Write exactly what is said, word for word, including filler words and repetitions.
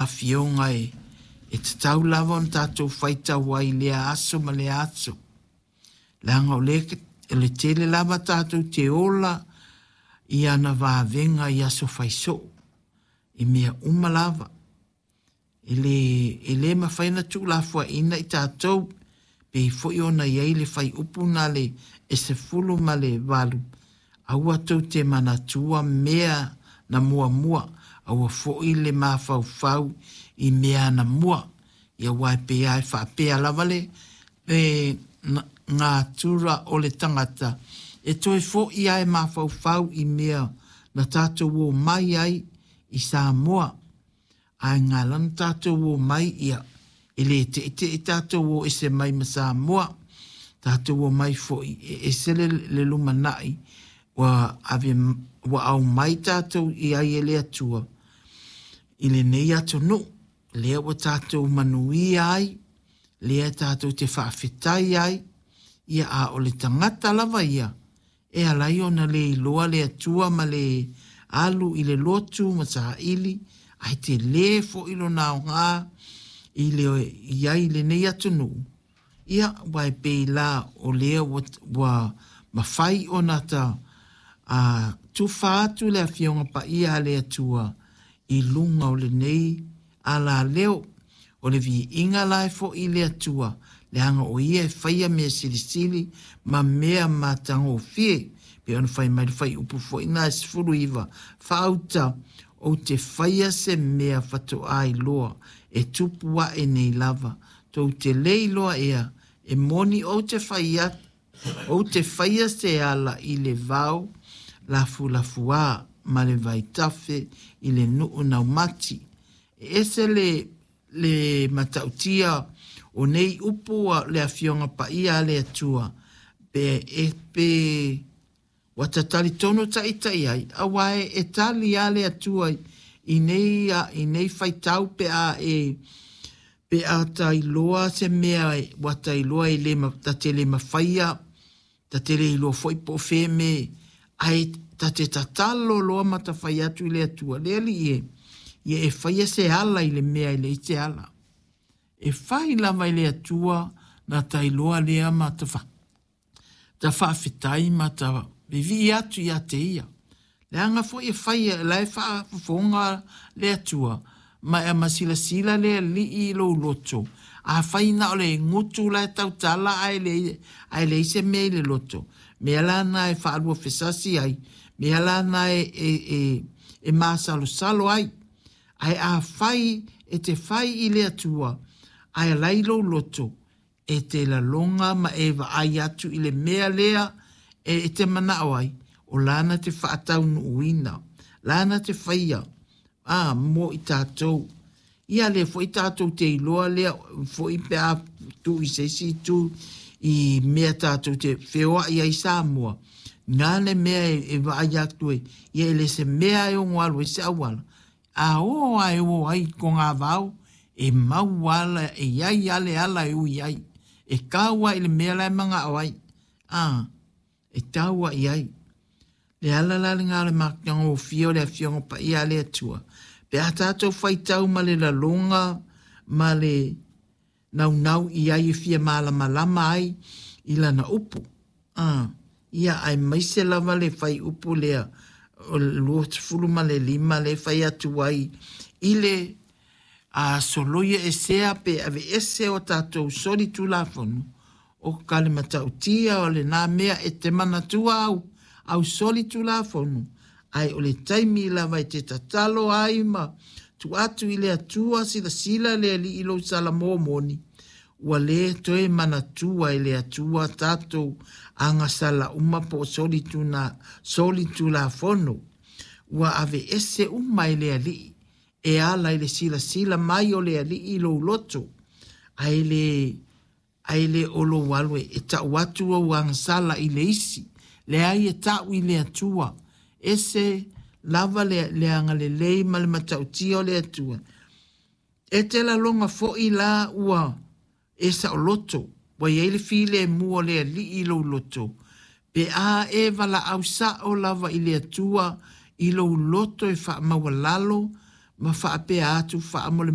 Afioga e, e tatau lava ona tatou faitau ai i lea aso ma lea aso. Leaga o le, le tele lava tatou te ola i ana vavega i aso fai soo, i mea uma lava. E le, e le mafai ona tuulafoaiina i tatou, pei foi ona i ai le fuaiupu na le e sefulu ma le valu, aua tou te manatua mea na muamua, aua foi le mafaufau i mea anamua. Ia aua e pei lava e faapea lava le, le natura o le tagata, e toe foi lava e mafaufau i mea na tatou omai ai i Samoa. Ae na ala ona tatou omai, ia, e le teitei tatou o ese mai ma Samoa. Tatou omai foi e ese le, le lumanai ua ave ua aumai tatou i ai e le Atua i lenei atunuu. Lea ua tatou manuia ai, lea tatou te faafetai ai, ia a o le tagata lava ia, e ala ai ona le iloa le Atua ma le alu i le lotu ma saili, ae tele foi lona aoga i le i ai i lenei atunuu. Ia, aua e pei la o lea ua, ua mafai ona ta a, tufa atu le Afioga Paia a le Atua i luga o lenei alaleo. O le viiga la e foi i le Atua, leaga o ia e faia mea silisili ma mea matagofie. Pei ona fai mai le fuaiupu foi na e sefulu iva, faauta, ou te faia se mea faatoa iloa e tupu ae nei lava. Tou te le iloa ea, e moni ou te faia, ou te faia se ala i le vao lafulafuā ma le vaitafe i le nuu naumati. E ese le, le matautia o nei upu a le Afioga Paia a le Atua, pe e pe ua ta talitonu ta ita i ai, aua e, e tali lava le Atua i nei, i nei faitau pe a e pe a ta iloa se mea ua ta iloa e le ta te le mafaia, ta te le iloa foi po o fea me, ae ta te tatalo loa ma ta fai atu i le Atua, le Alii e, ia e faia se ala i le mea e leai se ala. E fai lava i le Atua na ta iloa lea ma ta, fa, ta faafetai ma ta vivii atu ia te ia. Leaga foi e fai la e faafofoga le Atua, ma e masilasila le Alii i lou loto. A fai na o le gutu la e tautala ae le, ae leai se mea i le loto. Mea la na e faalua fesasi ai, mea la na e, e, e, e masalosalo ai. Ae a fai e te fai i le Atua, ae alai lou loto, e te laloga ma e vaai atu i le mea lea e, e te manao ai, o lana te faataunuuina, lana te faia, a mo i tatou. Ia le foi tatou te iloa lea foi pe a tu i se isi itu i mea tatou te feoai ai Samoa, na le mea e, e vaai atu e, ia e le se mea e ono alu ai se auala. A o a e o ai ko ngā vao, e mau ala, e iai ale ala e ui ai. E kaua i le mea la e mangao ai. A, e taua i ai. Le ala la le ngā le matagofie o le Afioga Paia a le Atua. Pe a tatou faitau ma le laloga ma le naunau i ai e fia malamalama ai i lana upu. A, ia aemaise lava le fuaiupu lea o le luasefulu ma le lima le fai atu ai i le a soloia esea pe ave ese o tatou solitulafono o ka le matautia o lena mea e te manatua au au solitulafono ae o le taimi lava e te tatalo ai ma tuu atu i le Atua silasila le Alii i lou salamo moni ua le toe manatua e le Atua tatou agasala uma po o solituna, solitulafono ua ave ese uma e le Alii e ala i le silasila mai o le Alii i lou loto ae le ae le o lou alu e tau atu au agasala i le isi leai e tau i le Atua ese lava le, le agalelei ma le matautia o le Atua. E te laloga foi la ua e saoloto, ua iai le filemu o le Alii i lou loto. Pe a e valaau sao lava i le Atua i lou loto e faamaualalo ma faapea atu faamole